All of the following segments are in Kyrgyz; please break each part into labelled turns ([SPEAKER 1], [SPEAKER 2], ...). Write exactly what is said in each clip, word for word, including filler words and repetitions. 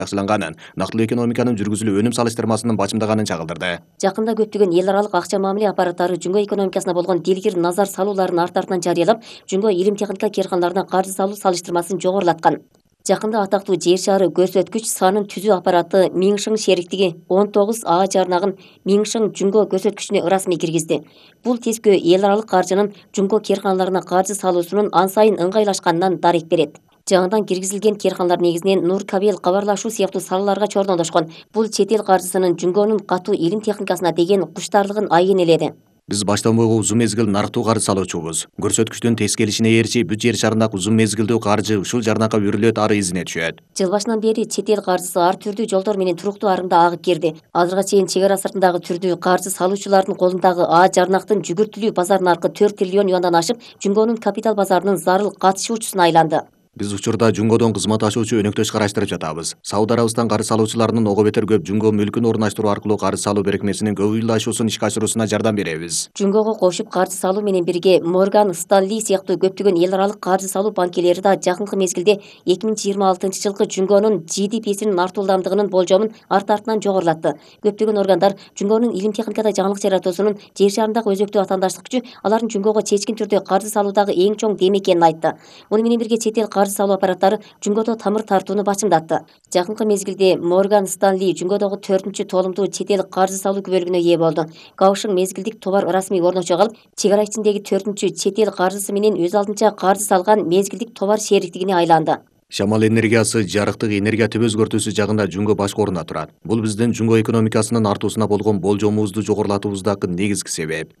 [SPEAKER 1] жакшыланганын, нактылуу экономиканын жүргүзүлүү өнүм салыштырмасынын бачымдаганын чагылдырды.
[SPEAKER 2] Жакында көптөгөн эл аралык акча мамиле аппараттары жумго экономикасына болгон дилгир назар салууларын арты артынан жарыялап, жумго илим техника керкандарына каржы салуу салыштырмасын жогорулаткан. Жакында атактуу жер шары көрсөткүч санын түзүү аппараты Миңшиң шериктиги он тогуз А жарнагын Миңшиң жумго көрсөткүчүнө ырасмый киргизди. Бул тескөө эл аралык каржынын жумго керканаларына каржы салуусунун ан сайын ыңгайлашканынан дарек берет. Жаңыдан киргизилген керканалар негизинен нур, кабел, кабарлашуу сыяктуу салаларга чордондошкон. Бул чет эл каржысынын жумгонун катуу илим техникасына деген куштаарлыгын айын эледи.
[SPEAKER 1] Биз баштан буйга узун мезгил нарыктуу каржы салуучубуз. Көрсөткүчтүн тез келишине ээрчи бүт жер шарындагы узун мезгилдүү каржы ушул жарнакка өрүлөт, ары изине түшөт.
[SPEAKER 2] Жыл башынан бери чет эл каржысы ар түрдүү жолдор менен туруктуу арымда агып кирди. Азырга чейин чек ара сыртындагы түрдүү каржы салуучулардын колундагы А жарнактын жүгүртүлүү базар наркы төрт триллион юандан ашып, жумгонун капитал базарынын зарыл катышуучусуна айланды.
[SPEAKER 1] Биз учурда жумгодон кызмат ашуучу өнөктөш караштырып жатабыз. Сауд Арабистан каржы салуучуларынын ого бетер көп жумго мүлкүн орнаштыруу аркылуу каржы салуу берекмесинин көп ыйлашуусун ишке ашыруусуна жардам беребиз.
[SPEAKER 2] Жумгого кошуп каржы салуу менен бирге Морган Стэнли сыяктуу көптөгөн эл аралык каржы салуу банкелери да жакынкы мезгилде эки миң жыйырма алтынчы жылкы жумгонун Джи Ди Писинин артуулдамдыгынын болжомун арты артынан жогорулатты. Көптөгөн органдар жумгонун илим техникада жаңылык жаратуусунун жер шарындагы өзөктүү атаандаштык күчү алардын жумгого чечкин түрдө каржы салуудагы эң чоң дем экенин айтты. Муну менен бирге чет эл каржы салуу аппараттары жумгодо тамыр тартууну бачымдатты. Жакынкы мезгилде Морган Стэнли жумгодогу төртүнчү толумдуу чет эл каржы салуу күбөлүгүнө ээ болду. Каушың мезгилдик товар ырасмый орночо калып, чек ара ичиндеги төртүнчү чет эл каржысы менен өз алдынча каржы салган мезгилдик товар шериктигине айланды.
[SPEAKER 1] Шамал энергиясы, жарыктык энергия түп өзгөртүүсү жагында жумго башкы орунда турат. Бул биздин жумго экономикасынын артуусуна болгон болжомубузду жогорулатуубуздагы негизги себеп.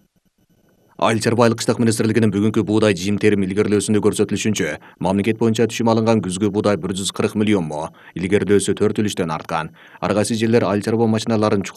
[SPEAKER 1] Айыл чарба айылкычтык министрлигинин бүгүнкү буудай жыйынтерим илгерилөөсүндө көрсөтүлүшүнчө, мамлекет боюнча түшүм алынган күзгү буудай бир жүз кырк миллион мо, илгерилөөсү төрт үлүштөн арткан. Ар кайсы жерлер айыл чарба машиналарын